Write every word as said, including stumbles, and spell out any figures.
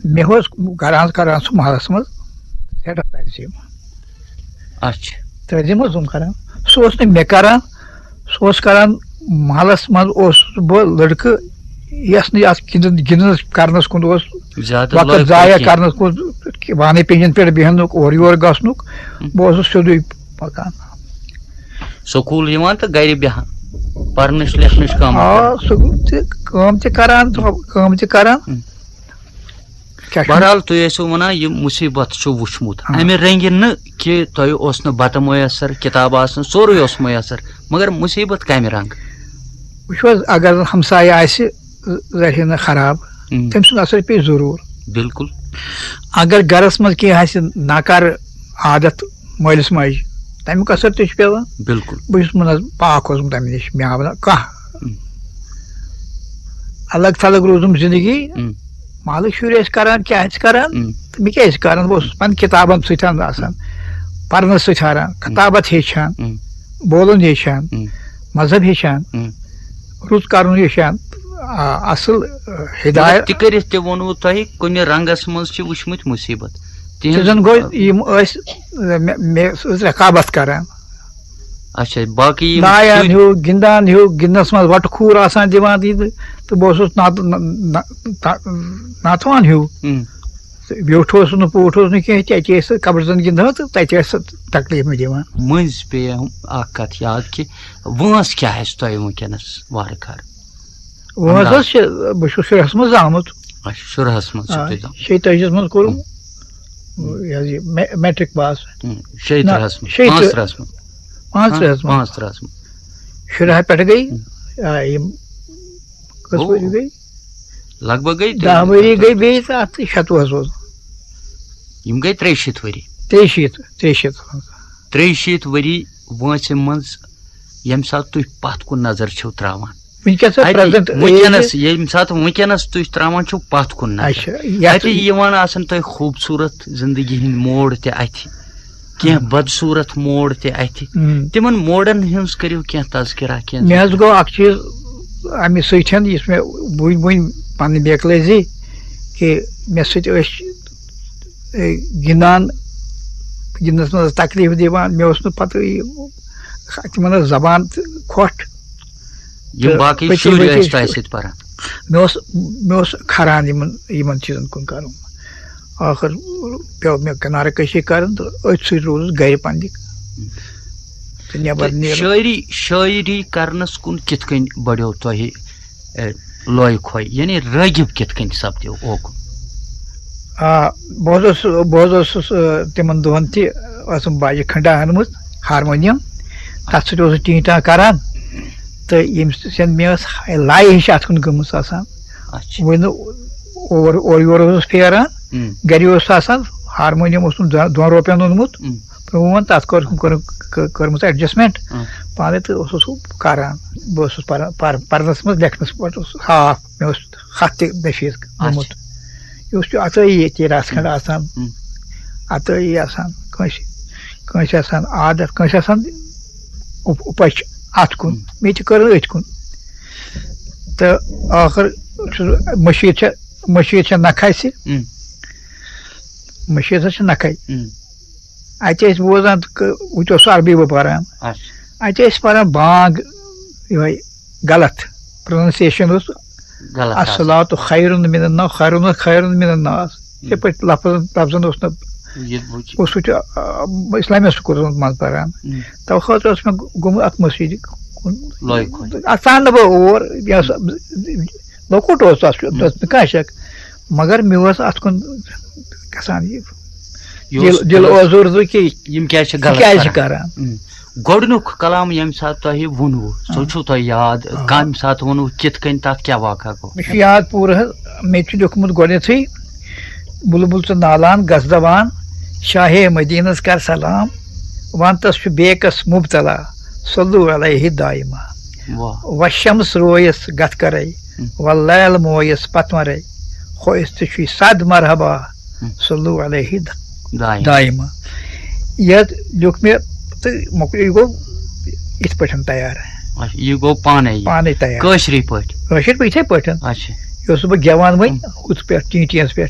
مےٚ اوس کران کران سُہ محلس منٛز سٮ۪ٹھاہ تعظیٖم۔ اچھا۔ تعظیٖم اوسُم کران۔ سُہ اوس نہٕ مےٚ کران، سُہ اوس کران محلس منٛز اوسُس بہٕ لڑکہٕ یس نہٕ اتھ گِنٛدن گِنٛدنس کرنس کُن اوس زیادٕ وقت لٲگۍ ضایع کینٛہہ۔ کرنس کُن، وانٕے پینجن پٮ۪ٹھ بیہنُک، اورٕ یور گژھنُک۔ بہٕ اوسُس سیوٚدُے پکان۔ سکوٗل یِوان تہٕ گرِ بیٚہان، پرنٕچ لیکھنٕچ کٲم۔ آ، سکوٗل تہِ کٲم تہِ کران، کٲم تہِ کران۔ ہم۔ کیٛاہ چھُ؟ بہرحال، تُہۍ ٲسِو وَنان، یہِ مُصیٖبت چھُ وُچھمُت، آ۔ اَمہِ رنٛگہِ نہٕ کہِ تۄہہِ اوس نہٕ بَتہٕ مۄیسر، کِتاب آسنہٕ، سورُے اوس مۄیسر، مگر مُصیٖبت کَمہِ رنٛگہٕ؟ وٕچھِو حظ، اگر ہمسایہِ آسہِ ذٔریعہٕ نہٕ خراب، ہم۔ تٔمۍ سُنٛد اثر پیٚیہِ ضروٗر۔ بِلکُل۔ اگر گرس منٛز کینٛہہ آسہِ ناکار عادت مٲلِس ماجہِ، تَمیُک اثر تہِ چھُ پیٚوان۔ بِلکُل۔ بہٕ چھُس منٛز پاک اوسمُت تَمہِ نِش، مےٚ آو نہٕ کانٛہہ۔ ہم۔ الگ تھلگ روٗزُم زندگی، ہم۔ محلٕکۍ شُرۍ ٲسۍ کران، کیٛاہ ٲسۍ کران، ہم۔ تہٕ مےٚ کیٛاہ ٲسۍ کران، بہٕ اوسُس پنٕنۍ کِتابن سۭتۍ آسان، پرنس سۭتۍ ہاران، کتابت ہیٚچھان، ہم۔ بولُن ہیٚچھان، ہم۔ مذہب ہیٚچھان، ہم۔ رُت کرُن ہیٚچھان، آ، اصل، آ، مگر ہدایت۔ تہِ کٔرِتھ تہِ ووٚنوُ تۄہہِ، کُنہِ رنٛگس منٛز چھِ وٕچھمٕتۍ مُصیٖبت۔ تہٕ تِہنٛز زن گوٚو یِم ٲسۍ، مےٚ، مےٚ ٲس رقابت کران۔ اچھا، باقٕے یِم لایان شُرۍ۔ ہیوٗ، گِنٛدان ہیوٗ، گِنٛدنَس منٛز وَٹہٕ کھوٗر آسان دِوان، تہٕ تہٕ بہٕ اوسُس ناتہٕ-، نہ-، نہ-، نہ-، ناتوان ہیوٗ۔ ہم۔ تہٕ بیوٗٹھ اوسُس نہٕ، پوٗٹھ اوسُس نہٕ کینٛہہ، تہِ اَتہِ ٲسۍ قبرستان گِنٛدان تہٕ تَتہِ ٲسۍ سۄ تکلیٖف مےٚ دِوان۔ مٔنٛزۍ پیٚیہِ اکھ کتھ یاد کہِ وٲنٛس کیٛاہ آسہِ تۄہہِ وٕنکیٚنس وارٕ کارٕ؟ وٲنٛس انداز۔ حظ چھِ، بہٕ چھُس شُرہَس منٛز زامُت۔ اچھا، شُرہَس منٛز چھُ آ، تُہۍ زامُت۔ شیٚیہِ تٲجِس منٛز کوٚرُم، یہِ حظ یہِ مے-، میٹرک پاس۔ ہم، شیٚیہِ نہ، ترٕہَس منٛز، شیٚیہِ پانٛژھ ترٕہ۔ ترٕہَس منٛز۔ پانٛژھ ترٕہَس منٛز۔ پانٛژھ ترٕہَس منٛز۔ شُراہ پٮ۪ٹھ گٔے، آ، یِم کٔژ گوٚو۔ ؤری گٔے؟ لگ بگ گٔے دَہ ؤری گٔے بیٚیہِ تہٕ اَتھ شَتوُہَس اوس۔ یِم گٔے ترٛیٚیہِ شیٖتھ ؤری۔ ترٛیٚیہِ شیٖتھ، ترٛیٚیہِ شیٖتھ۔ ترٛیٚیہِ شیٖتھ ؤری وٲنٛسہِ منٛز ییٚمہِ ساتہٕ تُہۍ پتھ کُن نظر چھِو تراوان۔ وٕنکیٚس اَتہِ پریزنٹ وٕنکیٚنس، ییٚمہِ ساتہٕ وٕنکیٚنس تُہۍ تراوان چھِو پتھ کُن نظر، اچھا، یَتھ اَتہِ یِوان آسان تۄہہِ خوٗبصوٗرت زندگی ہٕنٛدۍ موڑ تہِ اَتھِ، کینٛہہ بدصوٗرت موڑ تہِ اَتھِ۔ ہم۔ تِمن موڑن ہٕنٛز کٔرِو کینٛہہ تذکرہ، کینٛہہ مےٚ حظ ذِکر۔ گوٚو اکھ چیٖز اَمہِ سۭتۍ، یُس مےٚ وٕنۍ وٕنۍ پنٕنۍ بیکلٲزی کہِ مےٚ سۭتۍ ٲسۍ، اے، گِنٛدان، گِنٛدنَس منٛز ٲس تکلیٖف دِوان، مےٚ اوس نہٕ پَتہٕ یہِ، تِمَن ٲس زبان تہِ کھۄٹھ۔ یِم تہٕ باقٕے پٔتۍ شُرۍ پٔتۍ ٲسۍ تۄہہِ سۭتۍ پران۔ مےٚ اوس، مےٚ اوس کھران یِمَن، یِمَن چیٖزَن کُن کَرُن۔ ٲخٕر پیوٚو مےٚ کِنارٕ کٔشی کَرٕنۍ تہٕ أتھۍ سۭتۍ روٗدُس گَرِ پنٛنہِ۔ تہٕ نٮ۪بَر تہٕ نیرُن۔ شٲعری، شٲعری کرنس کُن کِتھ کٔنۍ بڑیو تۄہہِ، اے، لوے کھوے، یعنی رٲغب کِتھ کٔنۍ سپدیو اوکُن؟ آ، بہٕ حظ اوسُس، بہٕ حظ اوسُس، آ، تِمن دۄہن تہِ ٲسٕم باجہِ کھنڈا أنمٕژ، ہارمونیم، تَتھ سۭتۍ اوسُس ٹیٖن ٹان کران، تہٕ ییٚمہِ سۭتۍ مےٚ ٲس لایہِ ہِش اَتھ کُن گٔمٕژ آسان۔ اچھا۔ وۄنۍ نہٕ اور، اورٕ یور اوسُس پھیران، ہم۔ گرِ اوس آسان، ہارمونیم اوسُم دۄ-، دۄن رۄپین اوٚنمُت، ہم۔ پرٛون، تَتھ کٔر-، کٔر-، کٔرمٕژ ایڈجسٹمنٹ ہم۔ پانَے، تہٕ اوسُس سُہ کران۔ بہٕ اوسُس پران، پر-، پرنس منٛز، لیکھنس پٮ۪ٹھ اوسُس ہاف، مےٚ اوس خط تہِ نفیٖذ گوٚمُت۔ اچھا۔ یہِ اوس یہِ عطٲیی ییٚتہِ رژھ کھنٛڈ آسان، ہم۔ عطٲیی آسان کٲنٛسہِ، کٲنٛسہِ آسان عادت، کٲنٛسہِ آسان اُپ-، اُپَچھ اَتھ کُن، ہم۔ مےٚ تہِ کٔر أتھۍ کُن۔ تہٕ ٲخٕر چھُس، مٔشیٖد چھےٚ، مٔشیٖد چھےٚ نکھٕ اَسہِ، ہم۔ مٔشیٖد حظ چھِ نکھَے۔ ہم۔ اَتہِ ٲسۍ بوزان تہٕ ک-، وٕنہِ اوس عربی بہٕ پَران۔ اچھا۔ اَتہِ ٲسۍ پَران بانٛگ یِہوٚے غلط، پرٛونَنسیشَن اوس غلط آسان۔ الصلاۃ خیر من النوم، خیر خیر من الناس۔ یِتھَے پٲٹھۍ لفظن، لفظن اوس نہٕ، یہِ وٕچھ۔ اوس سُہ تہِ، آ، اِسلامِیہ سکوٗلَس منٛز منٛز پَران۔ ہم۔ تَوٕ خٲطرٕ اوس مےٚ گوٚمُت اَتھ مٔشیٖدِ کُن۔ لوے کھوے۔ اَتھ ژاو نہٕ بہٕ اور، یہِ اوس لۄکُٹ اوس تَتھ، تَتھ نہٕ کانٛہہ شک، مگر مےٚ اوس اَتھ کُن گژھان یہِ یہِ دِل، اوس دِل اوزُر زُ کہِ یِم کیٛازِ چھِ یہِ غلط کیٛازِ کران؟ کران؟ اۭں۔ گۄڈٕنیُک کلام ییٚمہِ ساتہٕ تۄہہِ ووٚنوُ، سُہ چھُو تۄہہِ یاد، کَمہِ ساتہٕ ووٚنوُ، کِتھ کٔنۍ، تَتھ کیٛاہ واقعہ گوٚو؟ مےٚ چھُ یاد پوٗرٕ حظ، مےٚ تہِ چھُ لیوٗکھمُت گۄڈٕنیتھٕے، بُلبُل تہٕ نالان گژھ دَوان، شاہے مدینس کر سلام، وَنتَس چھُ بیکس مُبتلا، صلو علیہ دائما۔ واہ۔ وشمس رویس گتھ کرے، واللیل مویس پتمرے، خویس تہِ چھُے صد مرحبا، صلو علیہ د-، دائم۔ دائما۔ یہِ لیوٗکھ مےٚ تہٕ مۄکلیو، یہِ گوٚو یِتھ پٲٹھۍ تیار، اچھا، یہِ گوٚو پانے یہِ؟ پانے تیار۔ کٲشرِ پٲٹھۍ؟ کٲشِر پٲٹھۍ یِتھے پٲٹھۍ۔ اچھا۔ یہِ اوسُس بہٕ گٮ۪وان وۄنۍ ہُتھ پٮ۪ٹھ، ٹی ٹی یَس پٮ۪ٹھ۔